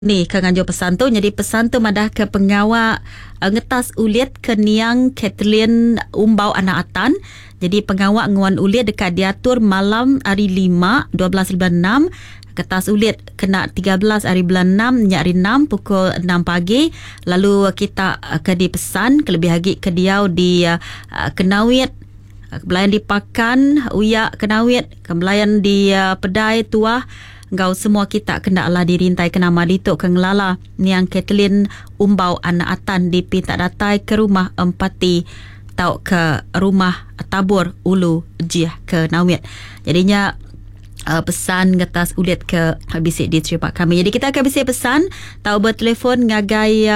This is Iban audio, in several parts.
Ni ke nganjung pesan tu nyadi pesan tu madah ke pengawa ngetas ulit ke niang Kathleen Umbau Anak Atan. Jadi pengawa nguan ulit deka diatur malam hari lima 12 bulan enam. Ketas ulit kena 13 hari bulan enam nya hari enam pukul enam pagi. Lalu kita ke dipesan kelebih agi ke diau di Kenawit, belayan di Pakan, Uyak Kenawit, ke belayan di Pedai Tuah enggau semua kita kena alah dirintai ke nama ditu ke ngelala niang Kathleen Umbau Anak Atan dipinta datai ke rumah Empati tauka rumah Tabur Ulu Jih ke Nawit. Jadi nya pesan ngetas ulit ke bisi diterima kami. Jadi kita akan bisi pesan tau bertelefon ngagai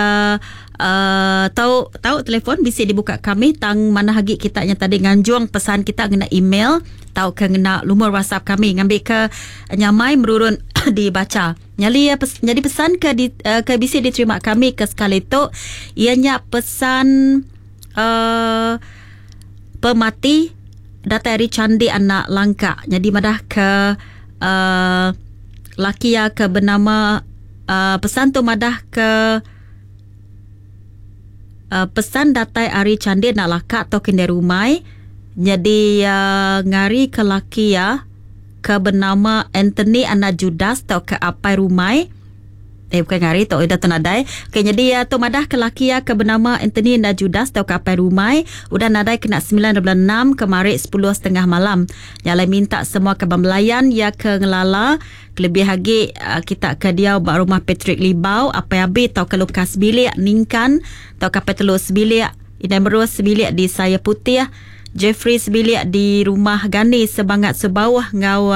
tau tau telefon bisi dibuka kami tang manah agi kita nya tadi nganjung pesan kita ngena email tauka ngena lumur WhatsApp kami ngambika nyamai merurun dibacha. Nyali nyadi pesan ke di, ke bisi diterima kami ke sekali tu iya nya pesan uh, pemati datai ari Candi Anak Langka. Nyadi madah ke uh, laki iya ke benama uh, pesan tu madah ke Uh, pesan datai ari Candi Anak Laka atau Kendai Rumai nyadi uh, ngari ke laki iya ke benama Anthony Anak Judas atau ke Apai Rumai. Eh bukan ngari tu udah tu nadai. Okey nyadi uh, tu madah ke laki iya ke benama Anthony Anak Judas atau ke Apai Rumai udah nadai kena 9 bulan 6 kemari 10.30 malam. Nya alai minta semua kaban belayan iya ke ngelala kelebih agi kita ke diau ba rumah Patrick Libau, Apai Abi tauka Lukas Bilik Ningkan tauka Apai Telu Sebilik, Indai Merus Sebilik di Saya Putih, Jeffrey Sebilik di Rumah Gani Sebangat Sebauh enggau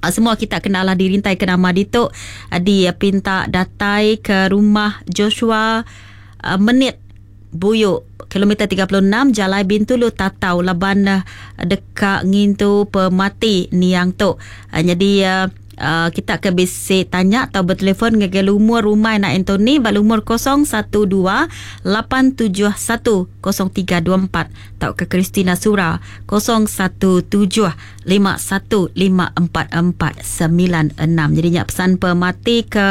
semua kita kena alah dirintai ke nama ditu dipinta datai ke rumah Joshua Menit Buyu kilometer 36 Jalai Bintulu Tatau laban deka ngintu pemati niang tu. Nyadi kita ke bisi tanya atau bertelefon ngagai lumur rumah anak Anthony ba lumur 012 871 0324 tauka Christina Sura 017 51544496. Jadi nya pesan pemati ke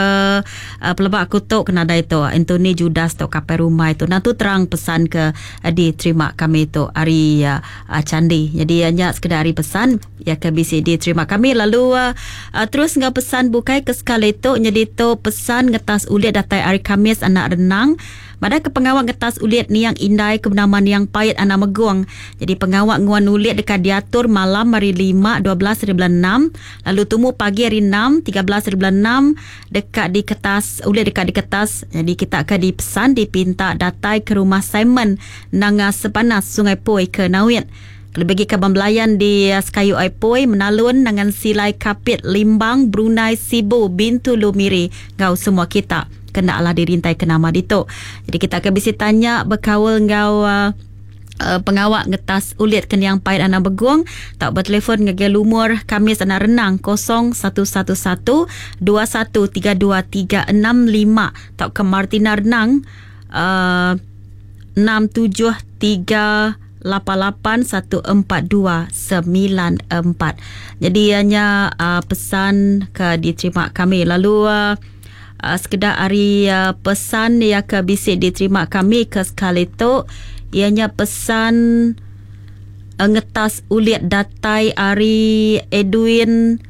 peleba aku tu ke nadai tu Anthony Judas tu kapai rumah itu. Nah tu terang pesan ke diterima kami tu ari Candi. Jadi nya sekedar ari pesan ya ke bisi diterima kami lalu terus enggau pesan bukai ke sekali tu jadi tu pesan ngetas ulit datai ari Kamis anak renang. Madah ke pengawa ngetas ulit niang indai ke benama Niang Pait Anak Megong. Jadi pengawa nguan ulit deka diatur malam hari lima 12 hari bulan enam lalu tumu pagi hari enam 13 hari bulan enam deka diketas ulit deka diketas. Jadi kita ke dipesan dipinta datai ke rumah Simon Nanga Sepanas Sungai Poi ke Nawit. Kelebih agi kaban belayan di Sekayu Ai Poi, Menalun, Nangan Silai, Kapit, Limbang, Brunei, Sibu, Bintulu, Miri enggau semua kita kena alah dirintai ke nama ditu. Jadi kita akan bisi tanya bekaul enggau uh, pengawa ngetas ulit ke niang Pait Anak Begong tau bertelefon ngagai lumur Kamis Anak Renang 0111 2132365 tau ke Martina Renang uh, 673 88142994. Jadi ianya uh, pesan ke diterima kami. Lalu uh, uh, sekedar hari uh, pesan yang ke bisi diterima kami ke sekali tu ianya pesan uh, ngetas ulit datai ari Edwin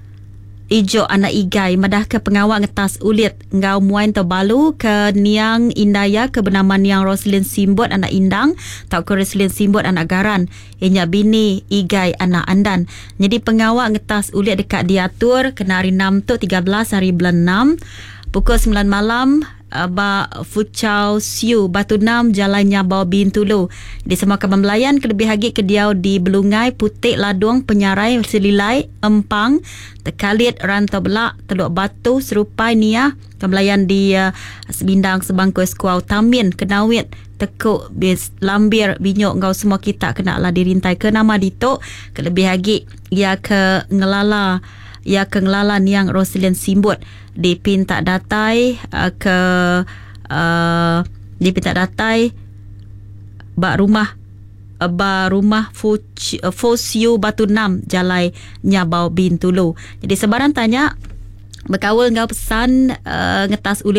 Ijo anak Igai madah ke pengawa ngetas ulit enggau muai entu balu ke niang indai iya ke benama niang Roslin Simbut anak Indang tauka Roslin Simbut anak Garan iya nya bini Igai anak Andan. Nyadi pengawa ngetas ulit deka diatur kena hari enam tu 13 hari bulan enam pukul 9 malam ba Fuchao Siu, Batu Enam, Jalai Nyabau Bintulu. Di semua kaban belayan kelebih agi ke diau di Belungai, Putik, Ladung, Penyarai, Selilai, Empang, Tekalit, Rantau Belak, Teluk Batu, Serupai, Niah, kaban belayan di Sebindang, Sebangkoi, Sekuau, Tamin, Kenawit, Tekuk, Lambir, Binyok enggau semua kita kena lah dirintai ke nama ditu kelebih agi iya ke ngelala iya ke ngelala niang Roselyn Simbut dipinta datai ke uh, dipinta datai ba rumah ba rumah Fosiu Batu Enam Jalai Nyabau Bintulu. Jadi sebarang tanya Bekaul enggau pesan ngetas ulit.